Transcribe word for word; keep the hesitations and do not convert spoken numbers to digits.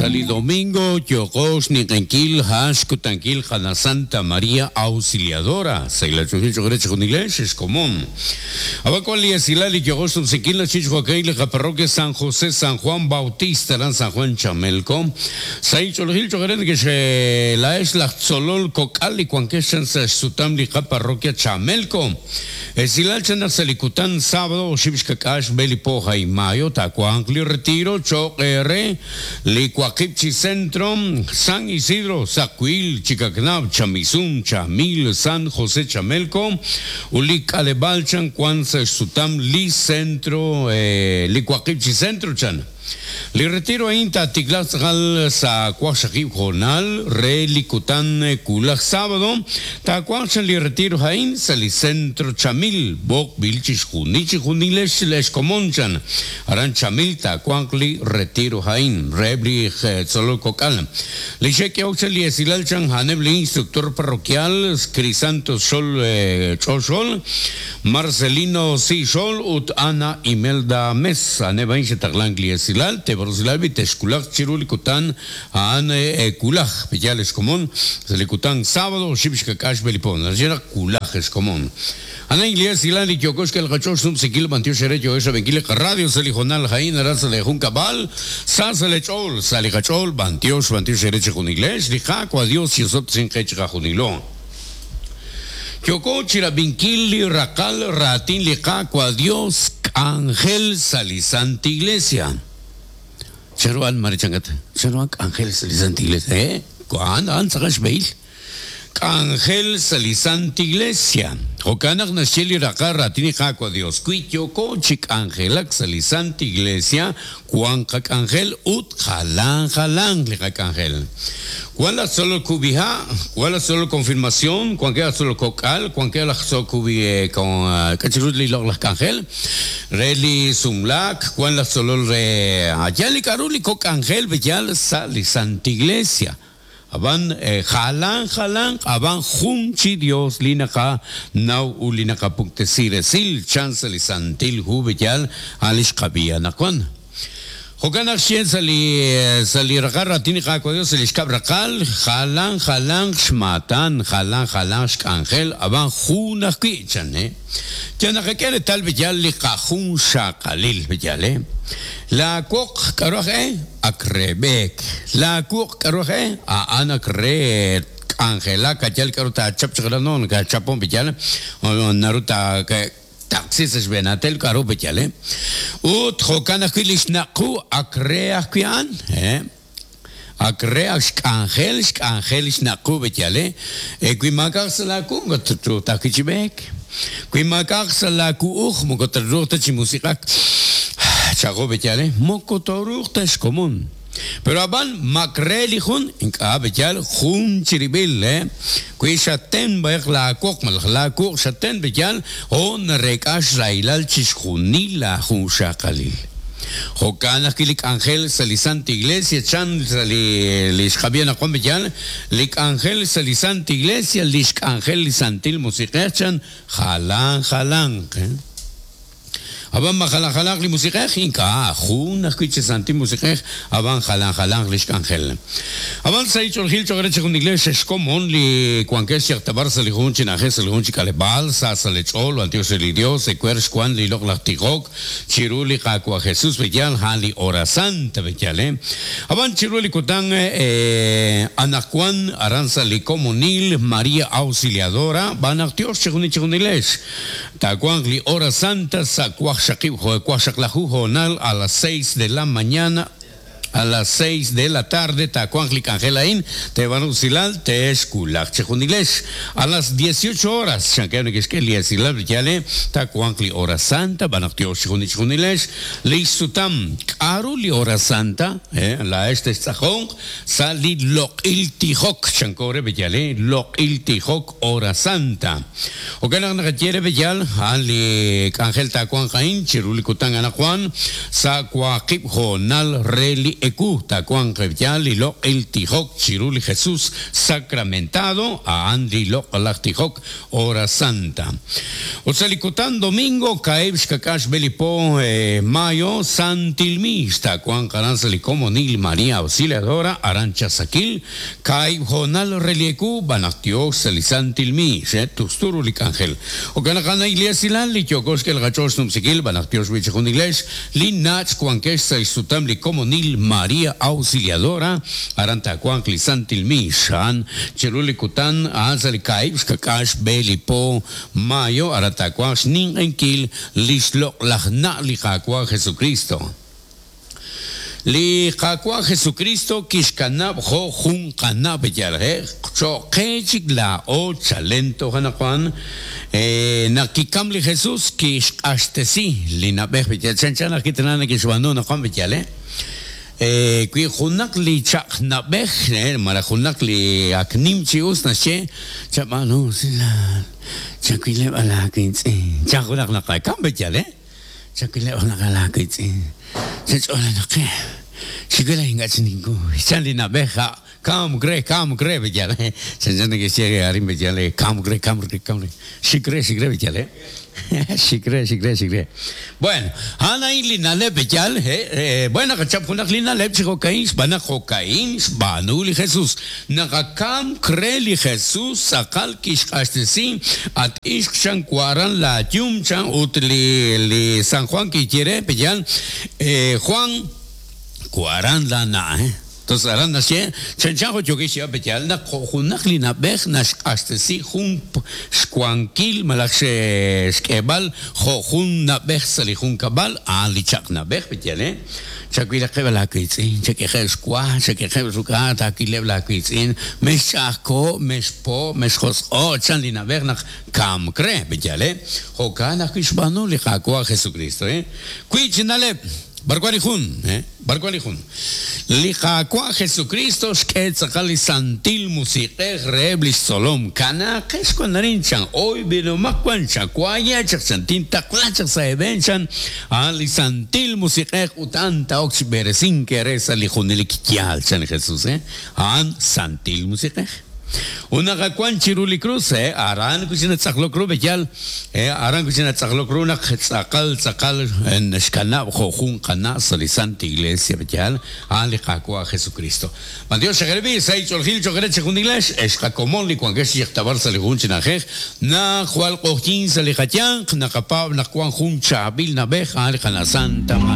Sali domingo yokox niqenkil hash kutankil jana Santa María Auxiliadora. Saila chujil chujere chujunilesh es común. Abacual y esilali yokox tumsikil la chichhuacail la parroquia San José San Juan Bautista en San Juan Chamelco. Sai chulhil chujere que se la es la tzolol cocali cuanqueshan sa sutam li parroquia Chamelco. Esilal chana salikutan sábado xibixkakax belipoja y mayo tacuancli retiro choqere licuaqipchi centro San Isidro Sacuil Chicacnab Chamizum Chamil San José Chamelco Ulic Alebalchan Cuanza Sutam li centro eh, licuaqipchi centro chan. Li retiro inta tiglazgal sa cuaxaqib jornal re likutan kulaj sábado ta cuaxan li retiro jain sa li centro Chamil bok bilchis junichi junilesh les comonchan aran Chamil ta cuancli retiro jain rebli solo cocal li cheque oxa li esilalchan hanebli instructor parroquial Crisanto Sol eh, Chosol Marcelino Si Sol ut Ana Imelda Mesa neba inche esilal te borsilal biteskulaj chirulikutan aan kulaj pillales común selikutan sábado xibixkakax belipon la kulaj es común ana iglesia silal y yokosh que el gacho sum sikil bantio xere yo esa benquile radio selijonal jain araza de juncabal sa selechol saligachol bantio bantio xere junigles lijaco adiós y osot sin quechga junilo Yoko chirabinkil rakal ratin lijaco adiós Ángel Salisanta Iglesia. Cheruan marichangat. Cheruan Ángel Salisanta Iglesia. ¿Eh? ¿Cuándo? ¿Anzagas beil? Ángel Salisanta Iglesia. Jokanak nasheli rakar ratini jaco Dios. Kuityoko chik Ángel Salisanta Iglesia. Juan kak Ángel ut jalan jalan li kak Ángel. ¿Cuál la solo cubija? ¿Cuál la solo confirmación? ¿Cuál queda solo cocal? ¿Cuál queda la solo cubi con cachirutli log las ángel? Reli sumlak, ¿cuál la solo re ayali karuli coc ángel bellal sali Santa Iglesia? Aban jalan jalan aban junchi Dios linaka nau ulinaka puktesiresil chancel santil jubellal alish kabia nakwan. Jokanak xien sali sali rakarra tini jaco Dios sali xkabrakal jalan jalan xmatan jalan jalan xkangel aban junak kichan eh. Yanakakere tal bellal li kajun xakalil bellal eh. La kuok karoje akrebek. La kuok karoje a anakre angela kachal karuta chap chaglanon ka chapon bellal naruta que taxis es benatel caro bechale ut jokana kilishnaqu akrea kian eh akrea angel angel shnaqu bechale equimakar salaku gotru takichibek quimakar salaku uj mokotrruta chimusiqak chago bechale mokotoruta es común. Pero aban makrelijun inka bechal jun chiribil eh kuishaten baek la kok mal la kok shaten bechal on rekash railal chishjunila jun shakalil. Jokana kilik Ángel Salisanta Iglesia chan sali lishkabiana Juan bechal lik Ángel Salisanta Iglesia lish Ángel Santil musiqechan jalan jalan eh? Aban jalan jalan li musiqej inka jun ajkiche santi musiqej aban jalan jalan li xkangel. Aban saichol gil chogreche jun iglesia es común li cuanques yaktabar sali jun chinaje sali jun chikalebal sa salechol antios el Dios secuers cuan li lok lactigok chiruli kakua Jesús bellal jali hora santa bellal eh. Aban chiruli kutan eh anacuan aranza li comunil María Auxiliadora banactios chejun chejun iglesia tacuan li hora santa sacuaj a las seis de la mañana a las seis de la tarde, Tacuanclic Angelain, te van a te esculak chejunilesh. A las dieciocho horas, Tacuancli hora santa, banactio chejunilesh, Leisutam, Karuli hora santa, eh, la este es sali loq il tijok, chancore bellale, loq il tijok hora santa. Ocanan quiere bellal, ali Ángel Tacuanjain, Chirulicután Anajuan, Sacuaqip Jonal Reli eku tawanq yal li loq'il tijok chiru li Jesús sacramentado a'an li loq'laj tijok hora santa. Ut sa' li kutan domingo kaib' xkak'ax b'elipo eh, mayo santilmix tawanq aran sa' li komonil María Auxiliadora aran Chasakil kaib' jonal relieku banaq tiox sa' li santilmix eh, tusturu li k'anjel. Okanaq ana iglesia li yokox kel gachos numsikil banaq tiox wichijun iglesia li nach kuankex sa' isutam li komonil María Auxiliadora aran tawanq li santilmix a'an chiru li kutan a'an sa' li kaib' xkak'ax b'elipo mayo aran tawanq xninq'enkil li xloq'laj na' li Qaawa' Jesucristo. Li Qaawa' Jesucristo kixkanab' jo' jun qanab' yal eh, cho'qe chik laa'o chalento janaqwan eh, naq kikam li Jesús kixq'axtesi li nab'ej b'yal chanchan naq kitana nakixb'aanu naqwan b'yal eh Eh, wi junaq li chaq nab'ej eh, malaj junaq li ak nim chi us naxye chab'aanu silal chakileb' alaawitz'in chan junaq naqakam b'yal eh chakileb' naq alaawitz'in chach'olanaqe xikula ink'a' chininku chan li nab'ej ja kam kre kam kre b'yal eh chan chan nakixye arin b'yal eh kam kre kam kre kam kre xikre xikre b'yal eh xikre xikre xikre. Bueno, ana li naleb b'yal eh, eh bueno qachap junaq li naleb chi jo'kain xb'anaq jo'kain xb'aanu li Jesús naqakam kre li Jesús tz'aqal kixq'axtesi at ixq chan waran la yum chan ut li li San Juan kikyere b'yal eh, Juan waran la na eh Entonces, aran naxye chan jo yokish ya b'yal naq junaq li nab'ej naxq'axtesi jun xwankil malaj xk'eb'al jo jun nab'ej sa' li jun kab'al a'an li chaq nab'ej b'yal eh chawilaqeb' laawitz'in chak'ejeb' xwa chak'ejeb' ruk'a taakileb' laawitz'in mex ch'ajko mex po mex josq'o chan li nab'ej naq kam kre b'yal eh jo'kan ajwi' xb'aanu li Qaawa' Jesucristo eh wi chi naleb' Barkwali jun, eh? Barkwali jun. Li Qaawa' Jesucristo xk'e tz'aqal li santil musiq'ej reheb' li xtzolom kanaqex wan arin chan oy b'inomaq wan chakwaya chaq chan tintaqla chaq sa' eeb'en chan a'an li santil musiq'ej ut a'an ta'ok chi b'eresink re sa' li junelik yaal chan li Jesús, eh? A'an santil musiq'ej. Unaqawan chiru li cruz, eh? Aran kuchina tz'aqlok ru b'yal, eh? Aran kuchina tz'aqlok ru naq tz'aqal tz'aqal xkanab' jo' jun qana' sa' li Santa Iglesia b'yal, a'an li Qaawa' Jesucristo. Man Dios xajerbi sa' ich'oljil cho'qere chi jun iglesia, ex qakomon li wankex yiqtabar sa' li jun chinajej, naq jwal q'ojyin sa' li qayanq, naqapaab' naq wan jun chaab'il nab'ej, a'an li qana' Santa